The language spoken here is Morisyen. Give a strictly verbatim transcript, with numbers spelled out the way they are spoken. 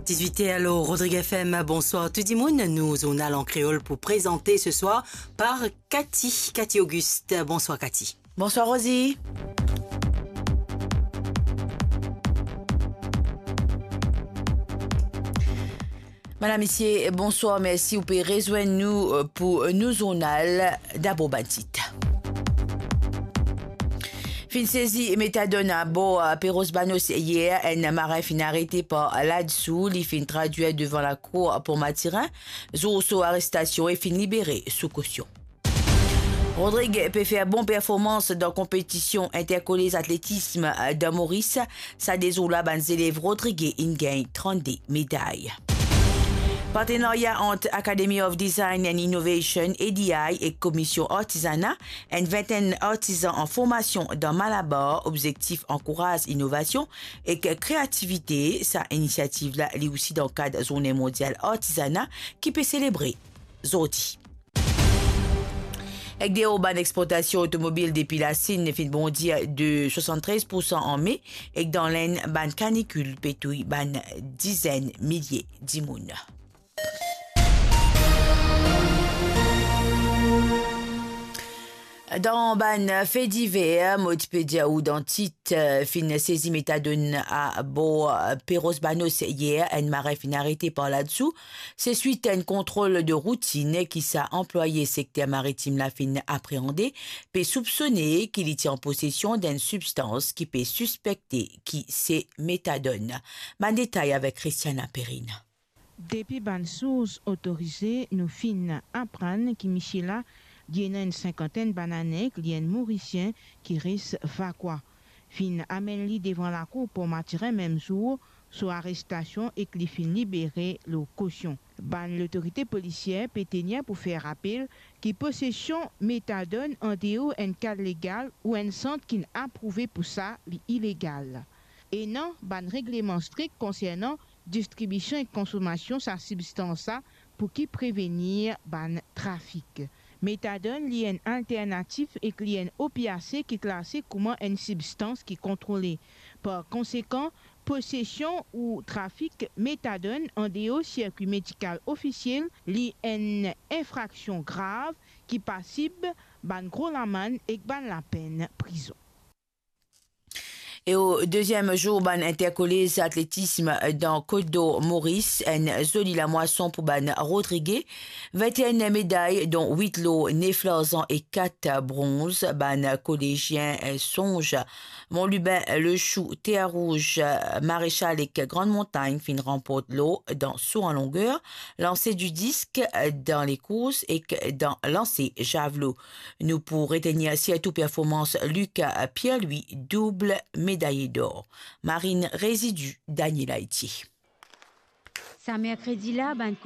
Dizwit er lor Rodrig F M, bonswar tou dimoun. Nou zournal an kreol pou prezante se swar par Cathy, Cathy Auguste. Bonswar Cathy. Bonswar Rosie. Madam, misie, bonswar, mersi ou pe rezwenn nou, euh, pou, euh, nou zournal. Dabor bann tit. Finn sezi metadone abor, euh, Perros Banhos yer, enn maren finn arete par ladsou, li finn tradwir devan lakour Pont Mathurin, zour so arestasion e finn libere sou kosion. Rodrig pe fer bon performans dan konpetision interkolez atletism dan Moris. Sa de zour la, bann zelev rodrige inn gagn trannde meday. Partenarya ant Academy of Design and Innovation, A D I, ek Komision Artizana, enn vintenn artizan an formasion dan Malabar, obzektif ankouraz inovasion ek kreativite. Sa inisiativ la, li osi dan kad Zourne Mondial Artizana ki pe selebre zordi. Ek deor, bann exportasion otomobil depi Lasinn finn bondi de swasann-trez poursan an Me, ek dan Lenn, bann kanikil pe touy bann dizenn milie dimoun. Dan bann fe diver, mo ti pe dir ou dan tit, euh, finn sezi metadone abor, euh, Perros Banhos yer, enn maren finn arete par ladsou. Se swit enn kontrol de routinn ki sa anplwaye sekter maritim la finn apreande, pe soupsone ki li ti an posesion d'enn sibstans ki pe sispekte ki se metadone. Bann detay avek Christiana Perrine. Depi bann sours otorize, nou finn aprann ki misie la, li ena enn sinkantenn bann ane, ki li enn Morisien ki res Vakwa. Finn amenn li devan lakour Pont Mathurin mem zour so arestasion ek li finn libere lor kosion. Bann lotorite polisier pe tenir pou fer rapel ki posesion metadone andeor enn kad legal ou enn sant ki'nn aprouve pou sa, li ilegal. Ena bann regleman strik konsernan distribision ek konsomasion sa sibstans la pou ki prevenir bann trafik. Metadone, li enn alternatif ek li enn opiase ki klase kouma enn sibstans ki kontrole. Par konsekan, posesion ou trafik metadone andeor sirkwi medikal ofisiel, li enn infraksion grav ki pasib bann gro lamann ek bann lapenn prizon. E o deziem zour bann interkolez atletism dan Kot Dor Moris, enn zoli lamwason pou bann rodrige. Vintenn meday, don wit lor, nef larzan e kat bronz. Bann kolezien, eh, Sonz, Mont Lubin, Le Chou, Terre Rouge, Maréchal ek Grande Montagne finn ranport lor dan so an longer, lanse di disk dan lekours ek dan lanse zavelo. Nou pou retenir sirtou performans Lucas Pierre-Louis, doub medaye dor. Marine Résidus, Daniel Haïti. Sa merkredi la, bann